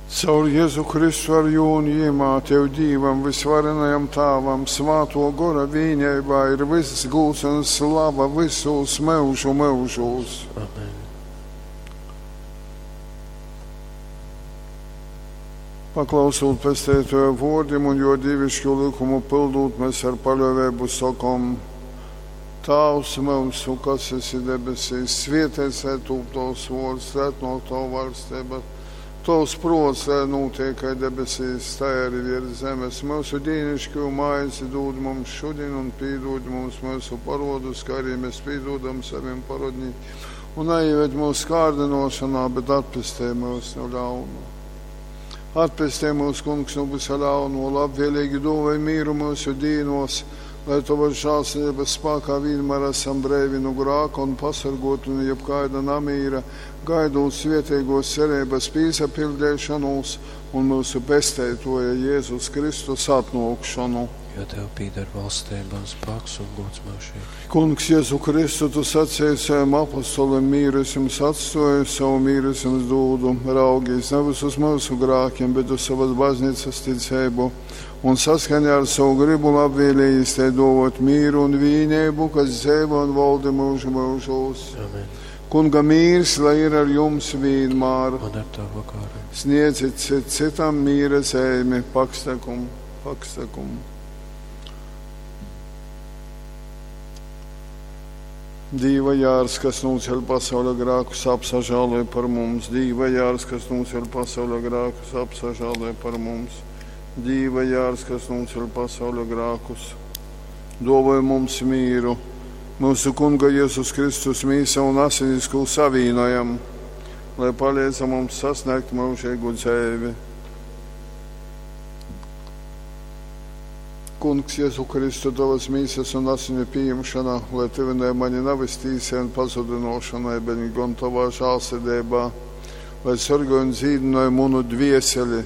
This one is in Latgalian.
Caur Jezu Kristu ar jū un jimā Tev Dīvam, Vysvarenajam Tāvam, Svātuo Gora vīneibā ir vyss gūds un slava vysūs myužu myužūs. Amen. Paklausūt Pesteituoja vuordim un juo dīviškū lykumu pyldūt, mēs ar paļuoveibu sokom: Tāvs myusu, kas esi debesīs, svieteits lai tūp tovs vuords, lai atnuok tova vaļsteiba. Tovs pruots, lai nūtiek kai debesīs, tai arī viers zemes. Myusu dīniškū maizi dūd mums šodien un pīdūd mums myusu parodus, kā arī mēs pīdūdam savim parodnīkiem. Un neieved mūsu kārdinošanā, bet atpestej mūs no ļauna. Atpestej mūs, Kungs, no visa ļauno, labvēlīgi dāvāj mīru mūsu dīnos, lai Tavas žēlsirdības spēkā vienmēr esam breivi no grāka un pasargoti no jebkāda namīra, gaidot svētīgos cerības pīsapildīšanos un mūsu pesteitoja Jēzus Kristus atnākšanu. Jo Tev pīder valstība un spēks un gods mūžīgi. Kungs, Jēzu Kristu, tu sacīji saviem apostoliem, mīru es jums atstoju, savu mīru es jums dūdu. Raugīs nevis uz mūsu grākiem, bet uz savas baznīcas ticību. Un saskaņā ar savu gribu labvēlīgi te dovot mīru un vīnību, kas dzīvo un valda mūžu mūžos. Amen. Kunga mīrs, lai ir ar jums vienmēr. Un ar Tavu garu. Sniedzit cit citam mīra zīmi, pakstekumu, pakstekumu. Dīva jārs, kas nūceļ pasaules grākus, apsažāloj par mums. Dīva jārs, kas nūceļ pasaules grākus, apsažāloj par mums. Dīva jārs, kas nūceļ pasaules grākus, dāvāj mums mīru. Mūsu Kunga Jēzus Kristus mīsa un asinis, ko savīnojam, lai palīdz mums sasniegt mūžīgu dzīvi. Kungs, Jēzu Kristu, tavas mīsas un asiņu pieņemšana, lai tuvinē mani nevis tīsai un pazudinošanai, bet gan tavā žālsirdībā, lai sargāj un dzīdināj manu dvieseli.